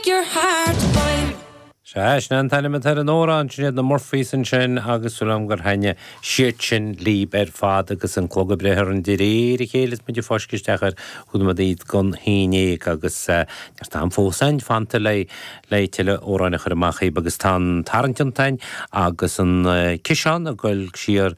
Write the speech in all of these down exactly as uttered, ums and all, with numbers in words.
Break your heart, boy. Sea, sin an t-ainm atá ar an amhrán sin iad na Murphys ansin agus súil agam gur thaitnigh siad sin libh ar fad agus an clog ag breith orainn de réir a chéile is muid ag fáisceadh isteach ar chúig nóiméad don haon déag agus neart am fós againn fanta le le tuilleadh amhráin a chur amach dhaoibh agus tá an tarraingt iontain agus an ciseán ag goil siar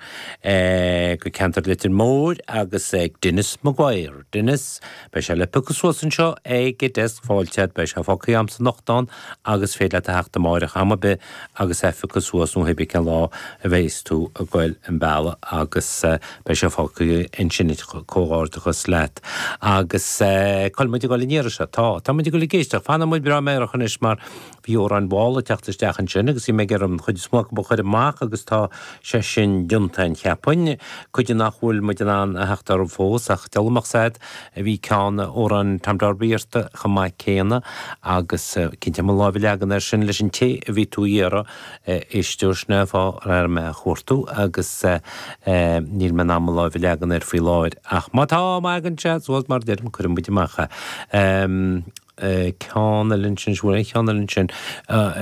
go ceantar Leitir Móir agus ag Denis Maguire. Denis, beidh sé le piocadh suas anseo ag desk fáilte, beidh sé fágtha a'msa anocht ann agus féidir leat a theacht amárach am ar bith agus é a phiocadh suas nó pé cén lá a bheas tú ag goil an bealach agus beidh sé fágtha ansin comhghairdeachas leat. Agus cá bhfuil muid ag goil an iarraidh seo? Tá, tá muid ag goil ag éisteacht, fanfaidh muid breá meidhreach anois mar bhí amhráin mhall ag teacht isteach ansin agus bhí mé ag iarraidh an chuid is mó acu a chur amach agus tá sé sin déanta cheapfainn, cuid nach bhfuil muid in ann a theacht orthu fós ach dealramach said a bhí ceann amhrán Tom Darby iarrta chomh maith céanna agus cinnte mo lámh a leagan air sin leis an té a bhí tú iarraidh éisteoir sin fá réir mé a chuartú agus níl mé in ann mo lámh a leagan air faoi láthair ach má tá má thagann sé suas mar deirim cuirfidh muid amach é. Ceann eile ansin, bhfuil aon cheann eile ansin?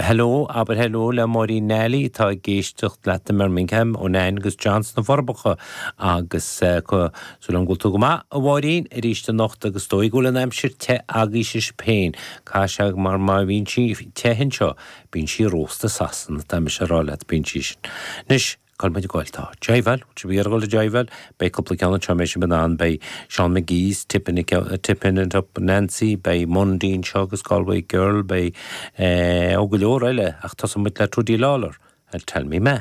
Hello, abair hello le Máirín Nally atá ag éisteacht leat i mBirmingham ó Nain agus John sna Forbacha agus súil agam go bhfuil tú go maith a Mháirín arís anocht agus dóigh go bhfuil an aimsir te agaibhse féin. Caithfidh sé mar má bhíonn sí te anseo bíonn sí rósta Sasana tá mise a rá leat bíonn sí sin. Anois cá bhfuil muid ag goil tá Joyville, bhfuil sibh ag goil Joyville, beidh cúpla ceann anseo mé sin an beidh Seán McGee's Tippin Tippin it up Nancy, beidh Mundy anseo agus Galway Girl, beidh ó go leor eile ach tosóidh muid le Trudie Lawlor and Tell Me Ma.